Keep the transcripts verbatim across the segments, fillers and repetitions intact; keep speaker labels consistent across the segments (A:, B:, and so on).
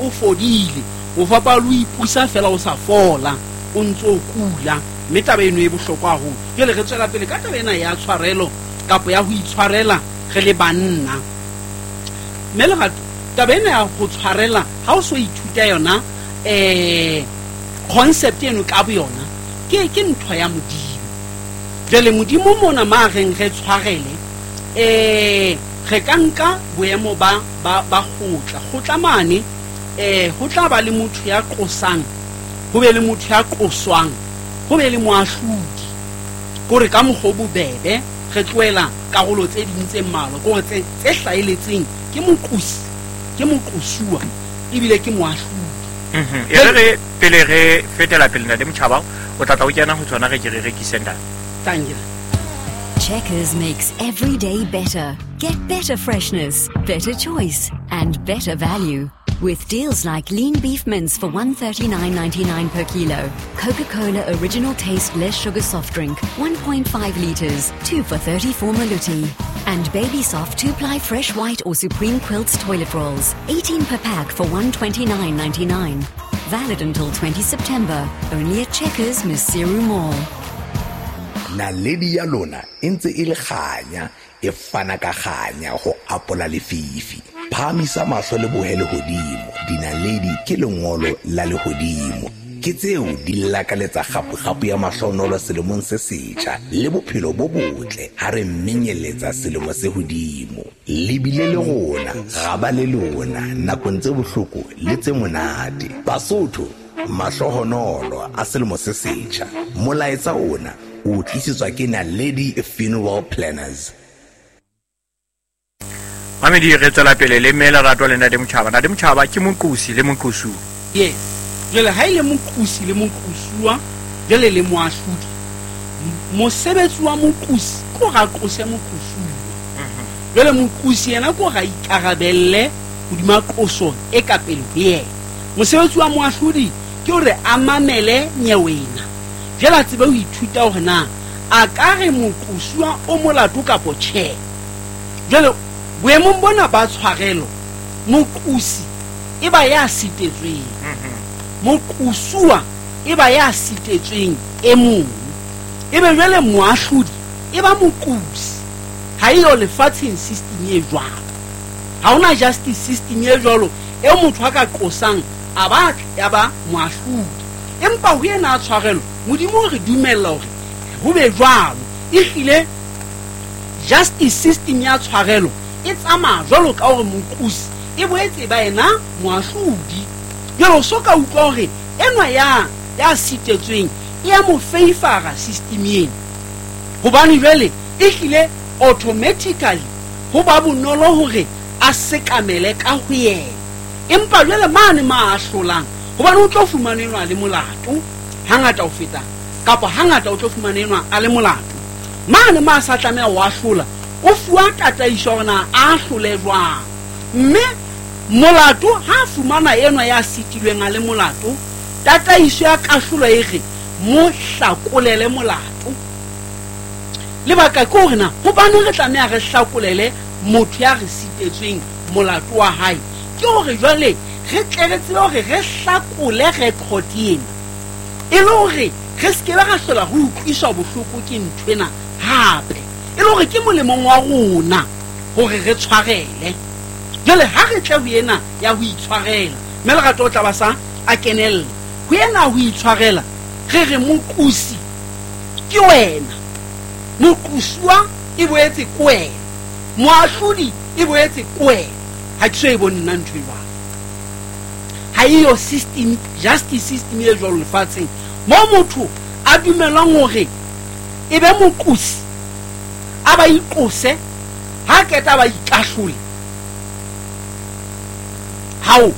A: o fodile. O fapana le ho ipusa feela o sa fola, o ntso o kula. Mme taba eno e bohlokwa haholo. Jwale re tswela pele ka taba ena ya tshwarelo kapa ya ho itshwarela re le banna. Mme Lerato, taba ena ya ho tshwarela ha o so ithuta yona eh concept eno ka boyona ke ke ntho ya Modimo. Jwale Modimo mona ma reng re tshwarele eh re ka nka boemo ba ba ba kgotla. Kgotla mane eh ho tla ba le motho ya qosang, ho be le motho ya qoswang, ho be le moahlodi. Kore ka mokgwa o bobebe re tlohela karolo tse ding tse mmalwa, kore tse tse hlaheletseng ke moqosi, ke moqosuwa ebile ke moahlodi.
B: Mhm. E re re pele re fetela pele Ntate Motjhaba, o tla tla o kena ho tsona re ke re rekise ntate.
A: Thank you.
C: Checkers makes every day better. Get better freshness, better choice, and better value. With deals like lean beef mince for one thirty-nine ninety-nine per kilo, Coca-Cola original taste less sugar soft drink, one point five liters, two for thirty-four maluti. And Baby Soft two-ply fresh white or Supreme Quilts toilet rolls, eighteen per pack for one twenty-nine ninety-nine. Valid until twenty September, only at Checkers Maseru Mall.
D: Naledi ya lona e ntse e le kganya, e fana ka kganya ho apola lefifi. Phahamisa mahlo le bohe lehodimo, dinaledi ke lengolo la lehodimo. Ke tseo di lakaletsa kgapo-kgapo ya mahlonolo selemong se setjha le bophelo bo botle ha re menyeletsa selemo se hodimo. Le bile le rona, ra ba le lona nakong tse bohloko le tse monate. Basotho, mahlohonolo a selemo se setjha. Molaetsa ona o tlisetswa ke Naledi Funeral Planners.
B: Mamedi, re tswela pele le mme Lerato le Ntate Motjhaba. Ntate Motjhaba ke moqosi le moqosuwa.
A: Yes. Jwale ha e le moqosi le moqosuwa, jwale le moahlodi. Mosebetsi wa moqosi ke hore a qose moqosuwa. Jwale moqosi yena ke hore a ikarabelle hodima qoso e ka pele ho yena. Mosebetsi wa moahlodi ke hore a mamele nyewena. Jwale a tsebe ho ithuta hore na a ka re moqosuwa o molato kapo tjhe. Jwale boemong bona ba tshwarelo, moqosi e ba ya sitetsweng, moqosuwa e ba ya sitetsweng e mong, ebe jwale moahlodi e ba moqosi. Ha eyo lefatsheng system e jwalo, ha hona justice system e jwalo eo motho a ka qosang a ba ya ba moahlodi. Empa ho yena a tshwarelo, Modimo o re dumella hore ho be jwalo. Ehlile justice system ya tshwarelo e tsamaya jwalo ka hore moqosi e boetse ba yena moahlodi. Jwale o so ka utlwa hore enwa ya, ya sitetsweng e ya mo favor system ena, hobane jwale ehlile automatically ho ba bonolo hore a sekamele ka ho yena. Empa jwale mane ma ahlolang, hobane o tlo fumana enwa a le molato hangata ho feta, kapa hangata o tlo fumana enwa a le molato. Mane ma sa tlameha ho ahlola, o fuwa tataiso hore na a ahlole jwang. Mme molato ha fumana enwa ya sitilweng a le molato, tataiso ya kahlolo e re mo hlakolele molato. Lebaka ke hore na hobaneng re tlameha re hlakolele motho ya re sitetsweng molato wa hae? Ke hore jwale re tle re tsebe hore re hlakole record ena, e le hore re se ke be ra hlola ho utlwiswa bohloko ke nthwena hape, e le hore ke molemong wa rona hore re tshwarele. Jwale ha re tle ho ena ya ho itshwarela, mme Lerato o tla ba sa a kenella ho ena ho itshwarela, re re moqosi ke wena, moqosuwa e boetse ke wena, moahlodi e boetse ke wena. Ha ke so e bone nna ntho e jwalo. Ha eyo system, justice system e jwalo lefatsheng moo motho a dumelwang hore e be moqosi, a ba iqose, ha qeta ba ikahlole. Hao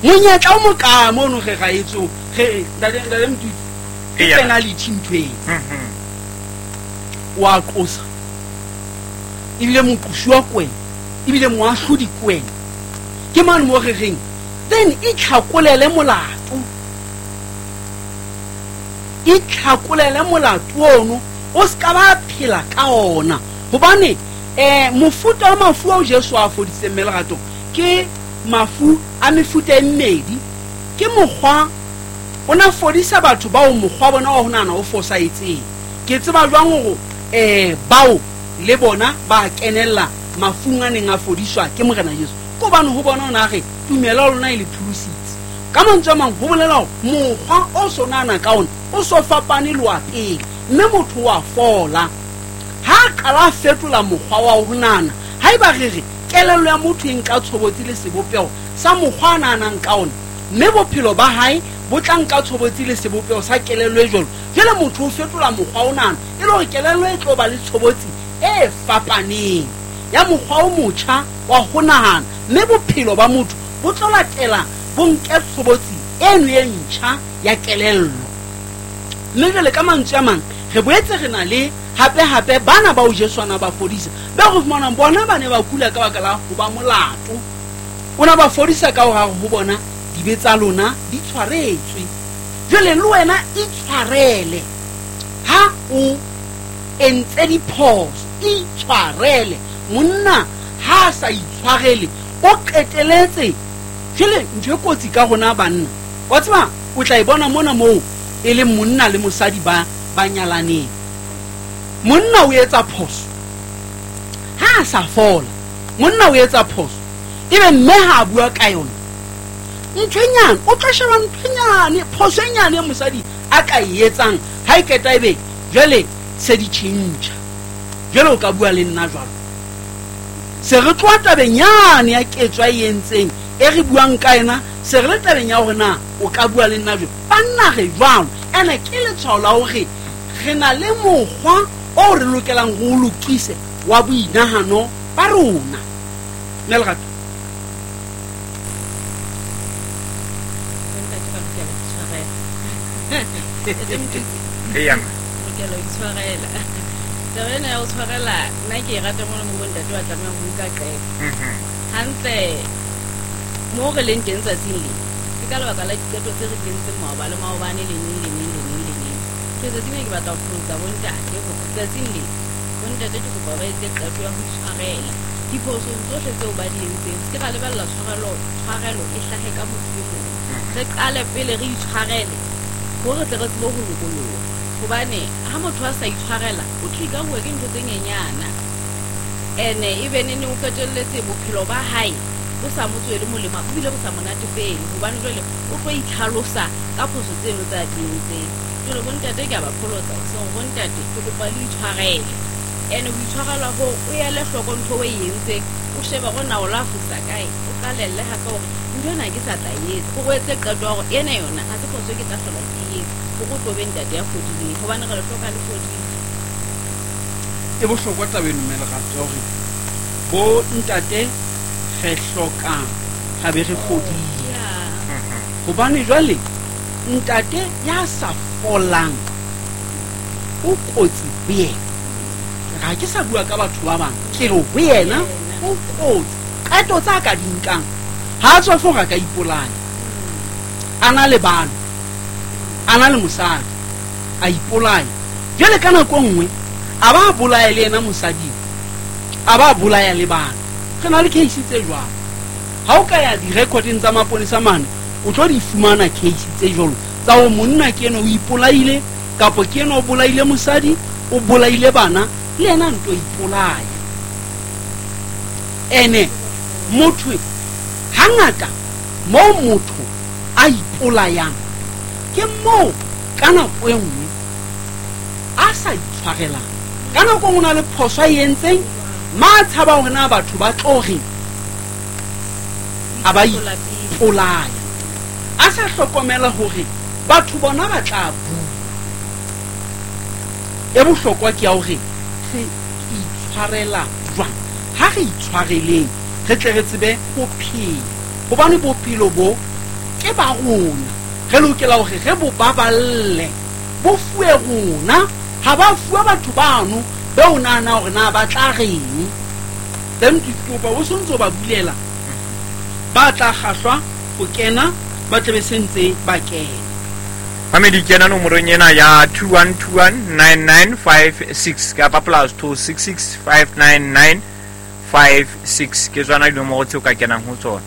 A: monyetla o mokae mono re ra etso re ntate ntate Mtutu, ke
B: Eya.
A: penalty ntho eno.
B: Mhm.
A: Wa qosa ebile moqosuwa ke wena, ebile moahlodi ke wena. Ke mane mo re reng then itlhakolele molato, itlhakolele molato ono, o ska ba phela ka ona. Hobane eh mofuta wa mafu ao Jesu a fodisitseng mme Lerato ke mafu a mefuta e mmedi. Ke mokgwa o na fodisa batho bao mokgwa bona wa ho nahana o fosahetseng. Ke tseba jwang hore eh bao le bona ba kenella mafung a neng a fodiswa ke Morena Jesu? Ke hobane ho bona o na re tumelo ya lona e le pholositse. Ka mantswe a mang ho bolela hore mokgwa o so nahana ka ona o so fapane le wa pele, mme motho wa fola. Ha a qala a fetola mokgwa wa ho nahana, haeba re re kelello ya motho e nka tshobotsi le sebopeho sa mokgwa a nahanang ka ona, mme bophelo ba hae bo tla nka tshobotsi le sebopeho sa kelello e jwalo. Jwale motho o fetola mokgwa o nahana e le hore kelello e tlo ba le tshobotsi e fapaneng ya mokgwa o motjha wa ho nahana, mme bophelo ba motho bo tlo latela bo nke tshobotsi eno e ntjha ya kelello. Mme jwale ka mantswe a mang re boetse re na le hape hape bana bao Jesu a na ba fodisa, ba re fumanang bona ba ne ba kula ka baka la ho ba molato. O na ba fodisa ka hore ho bona dibe tsa lona di tshwaretswe. Jwale le wena itshwarele ha o entse diphoso, itshwarele. Monna ha a sa itshwarele o qeteletse. Jwale ntho e kotsi ka rona banna, wa tseba o tla e bona mona moo e leng monna le mosadi ba ba nyalaneng. Monna o etsa phoso ha a sa fola, monna o etsa phoso ebe mme ha a bua ka yona ntho e nyane, o tlo sheba ntho e nyane, phoso e nyane e mosadi a ka e etsang, ha e qeta ebe jwale se di tjhentjha. Jwale o ka bua le nna jwalo, se re tloha tabeng yane ya ketso a e entseng e re buang ka yena, se re le tabeng ya hore na o ka bua le nna jwalo. Banna re jwalo, ene ke letshwao la hore re na le mokgwa o re lokelang ho o lokise wa boinahano ba rona. Mme Lerato,
E: Bontate ba lokela ho itshwarela.
B: Eya.
E: Lokela ho itshwarela. Taba ena ya ho tshwarela nna ke e rata mona mo bontate ba tlamehang ho nka qeto.
B: Mhm.
E: Hantle mo re leng teng tsatsing le, ke ka lebaka la diqeto tse re di entseng maoba le maobane le neng le neng le neng le neng. Ke tsatsing le ke batla ho pholosa bontate hore tsatsing le bontate ke kopa ba etse qeto ya ho itshwarela diphosong tsohle tseo ba di entseng. Se ke ra lebella tshwarelo, tshwarelo e hlahe ka motho e mong. Re qale pele re itshwarele hore re tle re tsebe ho lokoloha. Hobane ha motho a sa itshwarela o trigger-uwa ke ntho tse nyenyana, ene ebe nene o qetelletse bophelo ba hae bo sa mo tswele molemo, ebile bo sa mo natefele, hobane jwale o tlo itlhalosa ka phoso tseno tse a di entseng. Jwale bontate ke a ba pholosa hoseng, bontate ke kopa le itshwarele. Ene ho itshwarela hoo o ele hloko ntho o e entseng, o shebe hore na o la fosa kae, o qalelle hape hore ntho ena ke sa tla e etsa, o etse qeto ya hore ena yona ha se phoso e ke tla hlola ke e etsa, hore o tlo be ntate ya fodileng, hobane re le hloka le fodile.
A: E bohlokwa taba eno mme Lerato, hore bo ntate re hlokang ha be re fodile.
E: Yeah.
A: Hobane jwale ntate ya sa folang o kotsi ho yena. Ha ke sa bua ka batho ba bang, ke re ho yena o kotsi. Qeto tsa ka di nkang ha a tswa fo ka ipolaya, a na le bana, a na le mosadi, a ipolaya. Jwale ka nako e nngwe a ba bolaya le yena mosadi, a ba bolaya le bana. Re na le case tse jwalo. Ha o ka ya di-recording tsa maponesa mane, o tlo di fumana case tse jwalo tsa hore monna ke ena o ipolaile, kapa ke ena o bolaile mosadi, o bolaile bana, le yena nto ipolaya. Ene motho hangata moo motho a ipolayang ke moo ka nako e nngwe a sa itshwarelang. Ka nako e nngwe o na le phoso a e entseng, ma tshaba hore na batho ba tlo reng, a ba ipolaya, a sa hlokomela hore batho bona ba tla bua. E bohlokwa ke ya hore re itshwarela jwang. Ha re itshwareleng re tle re tsebe ho phela, hobane bophelo bo ke ba rona, re lokela hore re bo baballe, bo fuwe rona. Ha ba fuwa batho bano be o nahana hore na ba tla reng, then ke kopa o sontso ba bulela, ba tla kgahlwa ho kena, ba tle be sentse ba kena.
B: Mamedi, kena nomorong ena ya two one two one nine nine five six kapa plus two six six five nine nine five six. Ke tsona dinomoro tseo ka kenang ho tsona.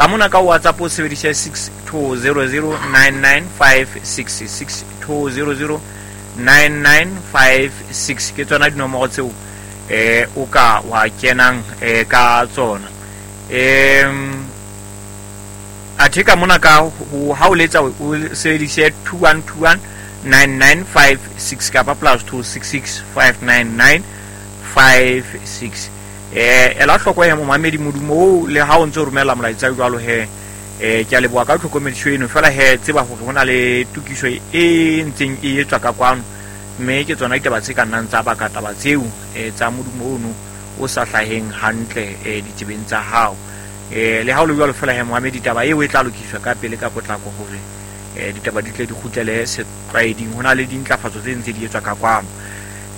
B: Ka mona ka WhatsApp o sebedise six two zero zero nine nine five six six two zero zero nine nine five six ke tsona dinomoro tseo eh o ka wa kenang eh ka tsona. Em athe ka mona ka ha o letsa o sebedise two one two one nine nine five six kapa plus two six six five nine nine five six. Eh ela hloko ya momamedi modumo o le ha o ntse o romela molaetsa jwalo he eh ke a leboha ka tlhokomediso eno fela he tseba hore hona le tokiso e ntseng e etswa ka kwano mme ke tsona ditaba tse ka nnang tsa baka taba tseo eh tsa modumo ono o sa hlaheng hantle eh ditsebeng tsa hao. Eh le ha o le jwalo fela he momamedi taba eo e tla lokiswa ka pele ka potlako hore eh ditaba di tle di kgutlele setlwaeding. Hona le dintlafatso tse ntse di etswa ka kwano.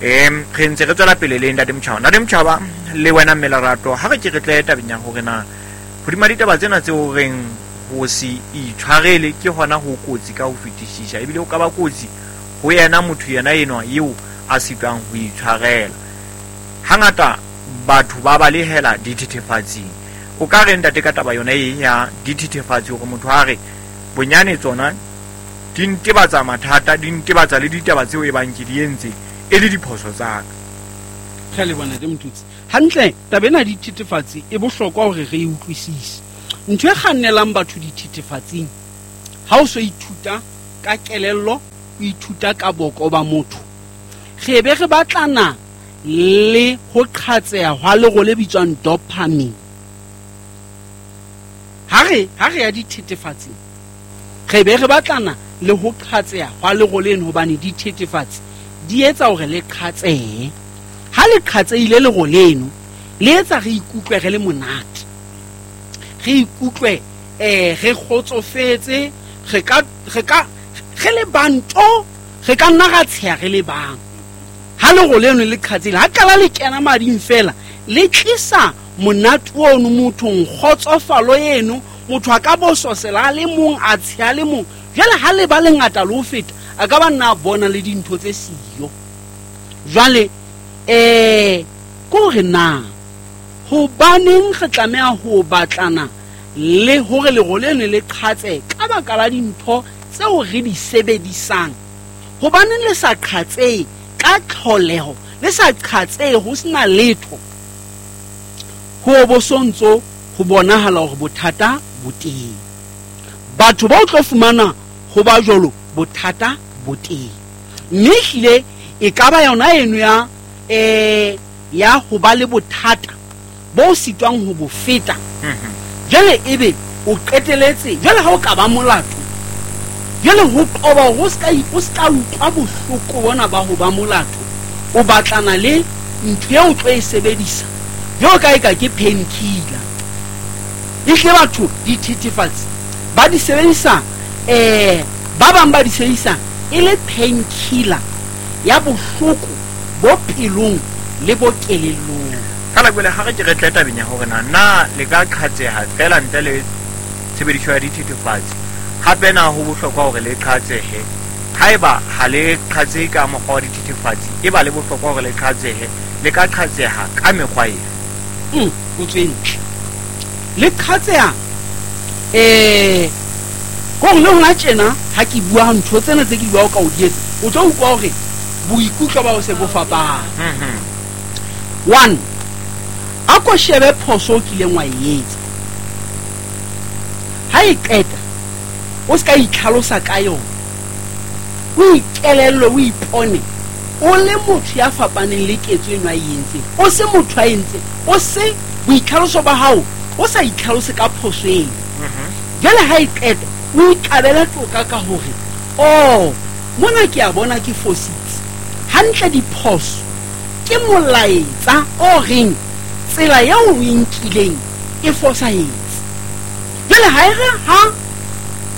B: Em re ntse re tswela pele le Ntate Motjhaba. Ntate Motjhaba le wena mme Lerato ha re ke re tle tabeng ya hore na hodima ditaba tsena tseo reng ho se itshwarele ke hona ho kotsi ka ho fetisisa ebile o ka ba kotsi ho yena motho yena enwa eo a sitwang ho itshwarela. Hangata batho ba balehela dithethefatsing. O ka re ntate ka taba yona e ya dithethefatsi hore motho a re bonyane tsona di ntebatsa mathata di ntebatsa le ditaba tseo e bang ke di entse e le diphoso tsa ka.
A: Re le bona Motutsi. Hantle taba ena dithethefatsi e bohlokwa hore re e utlwisise. Ntho e kgannelang batho dithethefatsing ha o so ithuta ka kelello, o ithuta ka boko ba motho. Re be re batlana le ho qhatseha hwa lero le bitswang dopamine. Ha re ha re ya dithethefatsing re be re batlana le ho qhatseha hwa lero leno hobane dithethefatsi di etsa hore le qhatsehe. Ha le qhatseile lero leno le etsa re ikutlwe re le monate, re ikutlwe eh re kgotsofetse, re ka re ka re le banto, re ka nna ra tsheha re le bang. Ha lero leno le qhatseile ha kala le kena mading fela le tlisa monate ono mothong, kgotsofalo eno motho a ka bososela a le mong a tsheha le mong. Jwale ha le ba lengata le ho feta a ka ba nna bona le dintho tse siyo. Jwale eh ko re na hobaneng re tlameha ho batlana le hore lero leno le qhatse ka baka la dintho tseo re di sebedisang? Hobaneng le sa qhatse ka tlholeho, le sa qhatse ho sena letho? Ho bo sontso ho bonahala hore bothata bo teng. Batho ba o tlo fumana ho ba jwalo bothata bo teng. Mme ehlile e ka ba yona eno ya eh ya ho ba le bothata bo sitwang ho bo feta. Jwale ebe o qeteletse, jwale ha o ka ba molato, jwale ho qoba hore o ska o ska utlwa bohloko bona ba ho ba molato, o batlana le ntho eo o tlo e sebedisa jwalo ka eka ke painkiller. Ehlile batho dithethefatsi ba di sebedisa eh ba bang ba di sebedisa e le painkiller ya bohloko bo pelong le bo kelellong.
B: Fela jwale ha re ke re tle tabeng ya hore na na le ka qhatseha fela ntle le tshebediso ya dithethefatsi. Hape na ho bohlokwa hore le qhatsehe? Haeba ha le qhatsehe ka mokgwa wa dithethefatsi, e ba le bohlokwa hore le qhatsehe, le ka qhatseha ka mekgwa efe?
A: Mm, potso e ntle. Le qhatseha eh ko le hona tjena ha ke bua ntho tsena tse ke bua ka o di etsa, o tlo utlwa hore boikutlo ba o se bo fapana.
B: Mhm.
A: One, a ko shebe phoso o kileng wa e etsa. Ha e qeta o ska itlhalosa ka yona, o ikelellwe, o ipone o le motho ya fapaneng le ketso eno a e entseng, o se motho a entseng, o se boitlhaloso ba hao o sa itlhalose ka phoso eno. Jwale ha e qeta o ikabele toka ka hore oh mona ke a bona ke fositse. Hantle diphoso ke molaetsa o reng tsela eo o e nkileng e fosahetse. Jwale ha e re ha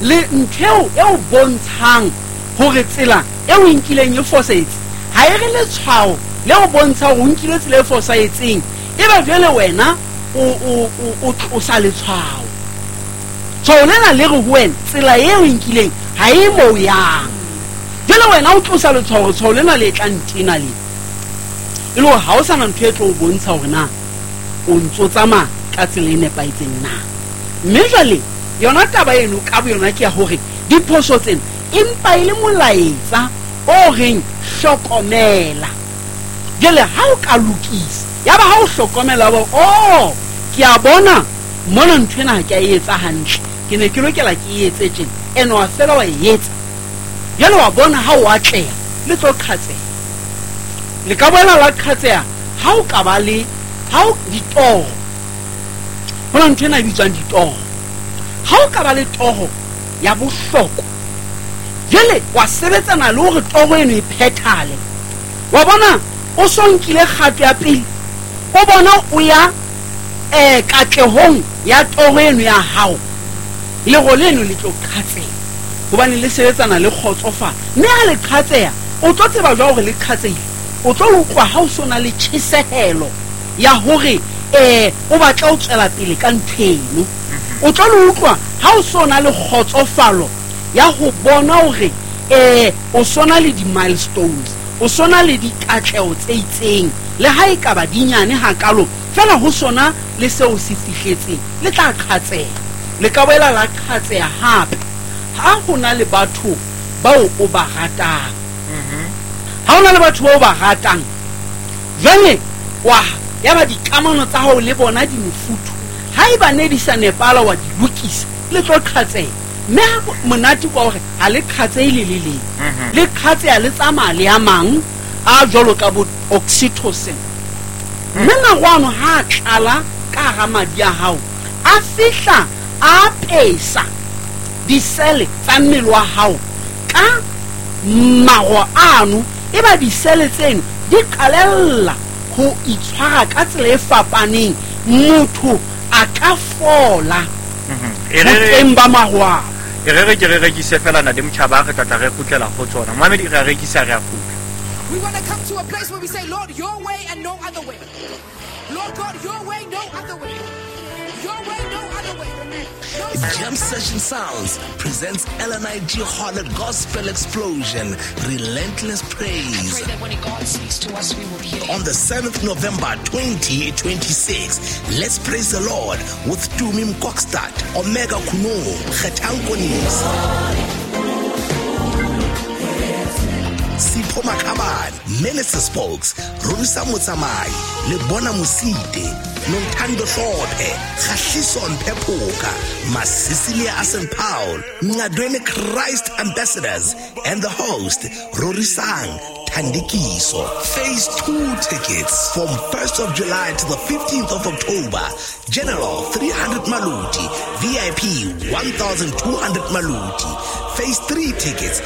A: le ntho eo e o bontshang hore tsela eo o e nkileng e fosahetse, ha e re letshwao le o bontsha hore o nkile tsela e fosahetseng, e ba jwale wena o o o tlosa letshwao. Tshwao lena le re ho wena tsela eo o e nkileng ha e mo yang. Jwale wena o tlosa letshwao, tshwao lena le tla ntena le e le hore ha o sana ntho e tlo o bontsha hore na o ntso tsamaya ka tsela e nepahetseng na. Mme jwale yona taba eno ka boyona ke ya hore diphoso tsena empa e le molaetsa o reng hlokomela. Jwale ha o ka lokisa, ya ba ha o hlokomela ba oh ke a bona mona ntho ena ha ke a e etsa hantle, ke ne ke lokela ke e etse tjena, ene wa fela wa e etsa. Jwale wa bona ha o atleha, le tlo qhatseha. Le ka boela la qhatseha ha o ka ba le ha o ditoro. Ho na ntho ena e bitswang ditoro. Ha o ka ba le toro ya bohlokwa, jwale wa sebetsana le hore toro eno e phethale. Wa bona o so nkile kgato ya pele, o bona o ya eh katlehong ya toro eno ya hao, lero leno le tlo qhatseha hobane le sebetsana le kgotsofalo. Mme ha le qhatseha, o tlo tseba jwang hore le qhatsehile? O tlo utlwa ha o so na le tjhesehelo ya hore eh o batla ho tswela pele ka ntho eno. O tlo le utlwa ha o so na le kgotsofalo ya ho bona hore eh o so na le di-milestones, o so na le dikatleho tse itseng, le ha e ka ba dinyane hakalo, fela ho sona le seo se fihletseng, le tla qhatseha. Le ka boela la qhatseha hape ha ho na le batho bao o ba ratang. Ha ho na le batho bao o ba ratang, jwale wa ya ba dikamano tsa hao le bona di mofuthu, ha eba ne di sa nepala wa di lokisa, le tlo qhatseha. Mme ha monate kwa hore ha le qhatsehe le le leng, le qhatseha le tsamaya le a mang a jwalo ka bo oxytocin. Mme maro ano ha a tlala ka hara madi a hao, a fihla a apesa disele tsa mmele wa hao ka maro ano, e ba disele tseno di qalella ho itshwara ka tsela e fapaneng, motho a ka fola
B: E re re-
A: boteng ba maro ao.
B: E re re ke re rekise fela na le motjhaba, re tla tla re kgutlela ho tsona. Mohamedi, re a rekisa, re a kgutla.
F: We want to come to a place where we say, Lord, your way and no other way. Lord God, your way, no other way. Your way, no other way. No
D: Jam Session Sounds presents L N I G Harlot Gospel Explosion, Relentless Praise.
F: Pray that when God speaks to us, we will hear.
D: On the seventh November twenty twenty-six, let's praise the Lord with Tumi Mkokstad, Omega Kuno, Kgethankonis, Sipho Makhabane, Minister Spokes, Rorisa Motsamai, Lebona Mosite, Nontando Hlophe, Kgahliso Mpephoka, Masisilia Asen Paul, Ngadweni Christ Ambassadors, and the host, Rorisang Thandikiso. Phase two tickets from first of July to the fifteenth of October. General three hundred Maluti, V I P one thousand two hundred Maluti. Phase three tickets